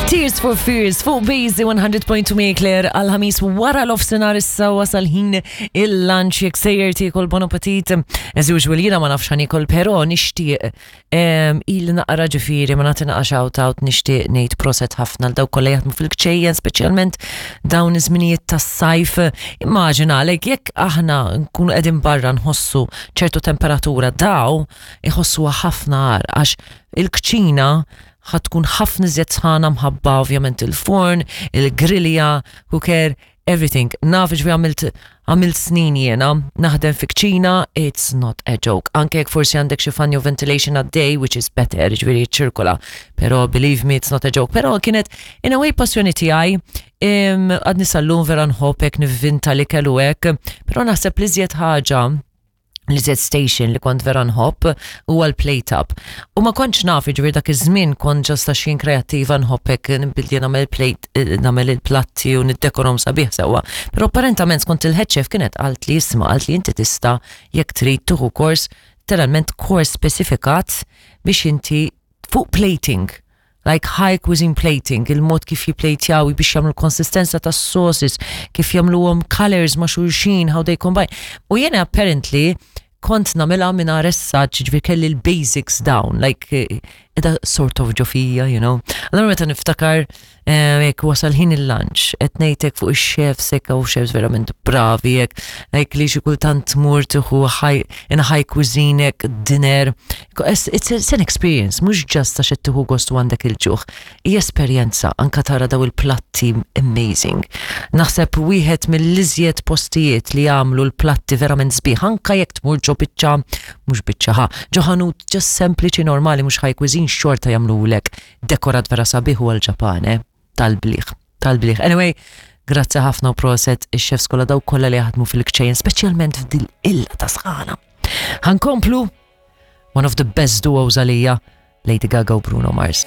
Tears for Fears fuq Busy 100.2 Claire għal-ħamis wara l-ofsenar issa wasal ħin il-lunch jekk sejjer tiekol bon appetit. As usual jiena ma nafx ħanikol però nixtieq il naqra ġifieri ma nagħti naqa' shout out nixtieq ngħid proset ħafna l dawk kollha jaħdmu fil-kċejjen speċjalment dawn iż-żminijiet tas-sajf. Immaġina għalek jekk aħna nkunu qegħdin barra nħossu ċertu temperatura daw iħossuha ħafna agħar għax il-kċina ħa tkun ħafna iżjed sħana mħabba ovvjament il-forn, il-grilja, cooker, everything. Naf ġvi għamilt għamilt snin jiena naħdem fi kċina, it's not a joke. Anke jekk forsi għandek xi fan jew ventilation għaddej, which is better, ġifieri ċirkola. Pero believe me, it's not a joke. Pero kienet in a way passjoni tiegħi, għadni sal-lum vera nħobb hekk nivvinta l-ikel u hekk, pero naħseb li żjed ħaġa l-iżjed station li kont vera nħobb huwa l-plate up. U ma kontx naf, ġifieri dak iż-żmien kont ġast għax jien kreattiva nħobb hekk nibdil nagħmel plate, eh, nagħmel il-platti u niddekorhom sabiħ sewwa. Però apparentament skont il-head chef kienet qalt li isma' qalt li inti tista' jekk trid tieħu kors, literalment kors specifikat biex inti fuq plating like high cuisine plating, il-mod kif jiplejtjaw biex jagħmlu konsistenza tas sauces, kif jagħmluhom colors ma' xulxin, how they combine. U jiena apparently kont nagħmilha minn essaġġ, ġifieri kelli l-basics down, like edha sort of ġo fija, you know. Allora meta niftakar jekk wasal ħin il-lunch, qed ngħidlek fuq ix-chefs hekk u chefs verament bravi hekk, like li xi kultant tmur tieħu high in a high cuisine hekk dinner. It's, it's an experience, mhux just għax qed tieħu gost u għandek il-ġuħ. Hija esperjenza anka tara daw il-platti amazing. Naħseb wieħed mill-iżjed postijiet li jagħmlu l-platti verament sbieħ anka jekk tmur ġo biċċa mhux biċċa ħa, ġo ħanut just sempliċi normali mhux high cuisine xorta jagħmlulek dekorat vera sabiħ u għal-Ġapan, eh? Tal-bliħ, tal-bliħ. Anyway, grazzi ħafna u proset ix-chefs kollha daw kollha li jaħdmu fil-kċejjen, speċjalment f'dil illa ta' sħana. Ħankomplu one of the best duos għalija, Lady Gaga u Bruno Mars.